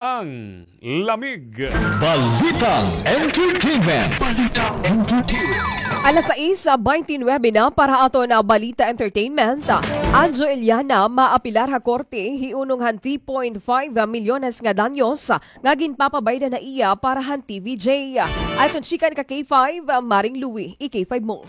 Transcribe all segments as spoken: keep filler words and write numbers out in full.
Ang lamig. Balitang Entertainment. Balitang Entertainment. Alas sais baynte nuwebe na para aton, ah, Balita Entertainment. Anjo Iliana maapilar ha korte hiunong han three point five milyones nga danyos nga ginpapabaydan ha iya para han T V J. Aton chikan ka K five, Maring Louie, i-K five mo.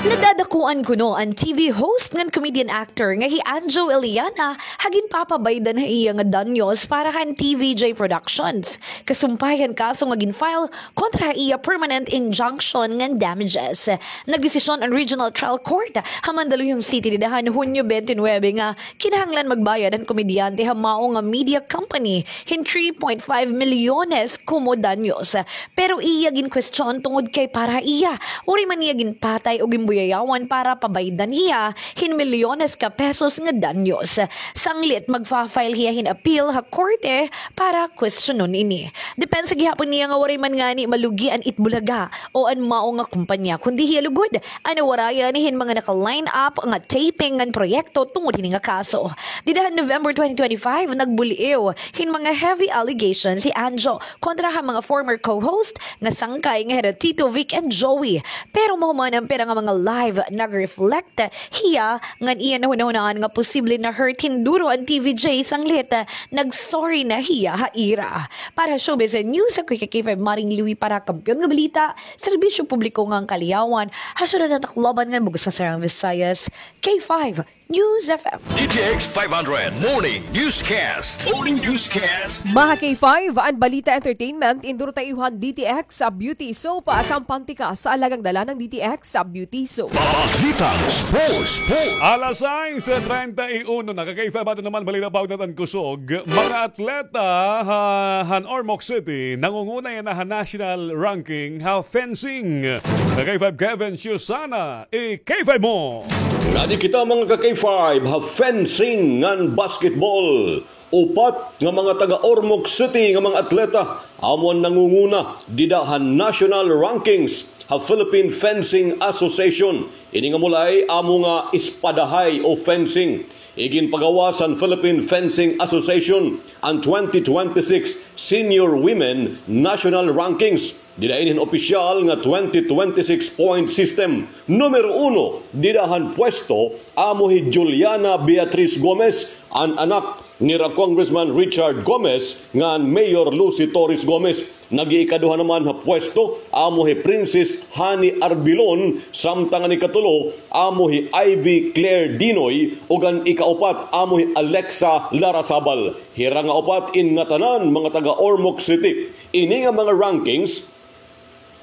Nadadakuan kuno an T V host ngan comedian actor nga hi Anjo Iliana ha ginpapabaydan ha iya nga danyos para han T V J Productions. Kasumpay han kaso nga gin-file kontra ha iya permanent injunction ngan damages. Nagdesisyon an Regional Trial Court ha Mandaluyong City dida han Hunyo baynte nuwebe nga kinahanglan magbayad an komedyante ha mao nga media company hin three point five milyones komo danyos. Pero iya ginkwestiyon tungod kay para ha iya, waray man niya ginpatay o ginbuyayawan para pabaydan hiya hin milyones ka pesos nga danyos. Sanglit magfa-file hiya hin appeal ha korte para kwestiyonon ini. Depensa gihapon niya nga waray man ngani malugi an Itbulaga o an mao nga kompanya, kundi hiya lugod an nawarayan hin mga naka-line up nga taping ngan proyekto tungod hini nga kaso. Dida han November twenty twenty-five, nagbul-iw hin mga heavy allegations hi Anjo kontra ha mga former co-host nga sangkay nga hira Tito Vic and Joey. Pero mahuman an pira nga mga live, nag-reflect hiya ngan iya nahunahunaan nga posible na-hurt hin duro an T V J sanglit nag-sorry na hiya ha ira. Para ha Showbiz and News, ako hi K five Maring Louie para ha Kampiyon nga Balita, Serbisyo Publiko ngan Kaliyawan, ha syudad han Tacloban ngan bug-os nga Sirang Visayas, K five News F M. D T X five hundred Morning Newscast. Morning Newscast. Mga K five, an Balita Entertainment, induro ta iyo han D T X Beauty Soap, kampante ka sa alagang dala ng D T X Beauty Soap. Balitang Sports. Alas sais treinta y uno na, ka K five, aton naman balita, bawat natan kusog. Mga atleta ha, han Ormoc City, nangunguna yana ha national ranking ha fencing. Ka K five, Kevin Susana, i-K five mo. Ngadi kita, mga ka K five, ha fencing ngan basketball. Upat nga mga taga Ormoc City nga mga atleta amo an nangunguna dida ha national rankings ha Philippine Fencing Association. Ini nga mulay amo nga espadahay o fencing. Iginpagawas han Philippine Fencing Association an twenty twenty-six Senior Women National Rankings. Dida ini hin opisyal nga twenty twenty-six point system. Numero uno dida han pwesto amo hi Juliana Beatriz Gomez, an anak nira Congressman Richard Gomez ngan Mayor Lucy Torres Gomez. Nag-iikaduha naman ha pwesto amo hi Princess Honey Arbilon, samtang an ikatulo amo hi Ivy Claire Dinoy, ug an ikaupat amo hi Alexa Larrazabal. Hira nga upat in ngatanan mga taga Ormoc City. Ini nga mga rankings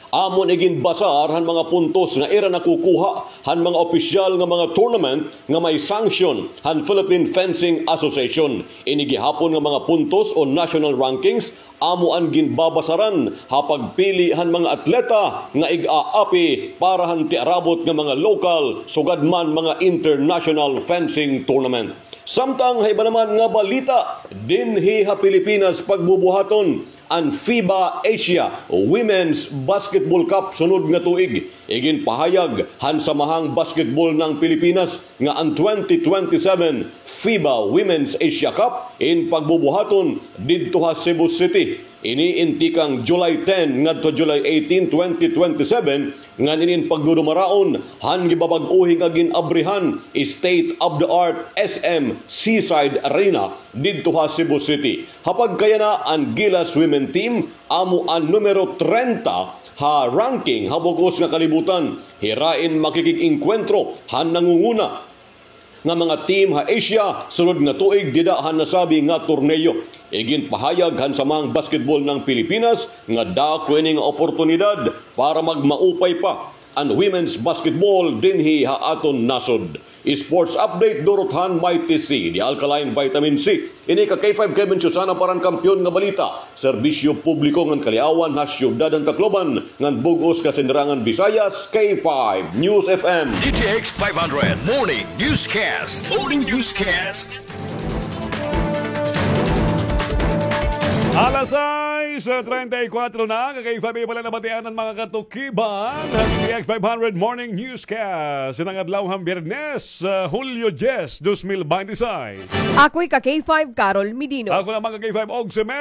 amo an iginbasar han mga puntos nga ira nakukuha han mga opisyal nga mga tournament nga may sanction han Philippine Fencing Association. Ini gihapon nga mga puntos o national rankings amo an ginbabasaran ha pagpili han mga atleta nga ig-aapi para han tiarabot nga mga lokal sugad man mga international fencing tournament. Samtang ha iba naman nga balita, dinhi ha Pilipinas pagbubuhaton an FIBA Asia Women's Basketball Cup sunod nga tuig. Iginpahayag han Samahang Basketball ng Pilipinas nga an twenty twenty-seven FIBA Women's Asia Cup in pagbubuhaton didto ha Cebu City. Ini in tikang July ten ngadto July eighteen, twenty twenty-seven, ngan ini in pagdudumaraon han gibabag-ohi nga gin-abrihan state-of-the-art S M Seaside Arena didto ha Cebu City. Ha pagkayana, an Gilas Women Team amo an numero trenta ha ranking ha bug-os nga kalibutan. Hira in makikig-engkwentro han nangunguna nga mga team ha Asia sunod nga tuig dida han nasabi nga torneo. Iginpahayag han Samahang Basketball ng Pilipinas nga dako ini nga oportunidad para magmaupay pa an women's basketball dinhi ha aton nasod. Sports update durot han Mighty C, the alkaline vitamin C. Ini ka K five Kevin Susana para han Kampiyon nga Balita, Serbisyo Publiko ngan Kaliawan ha Syudad han Tacloban ngan bug-os nga Sinirangan Visayas, K five News F M. D T X five hundred Morning Newscast. Morning Newscast. Alas sais Sa treinta y cuatro na, ka K five pala nabatian an mga katukiban han D X five hundred Morning Newscast. Sa adlaw han Biyernes, ah, Hulyo diyes, dos mil binte seis. Ako'y ka K five, Carol Medino. Ako naman ka K five, Og Semen.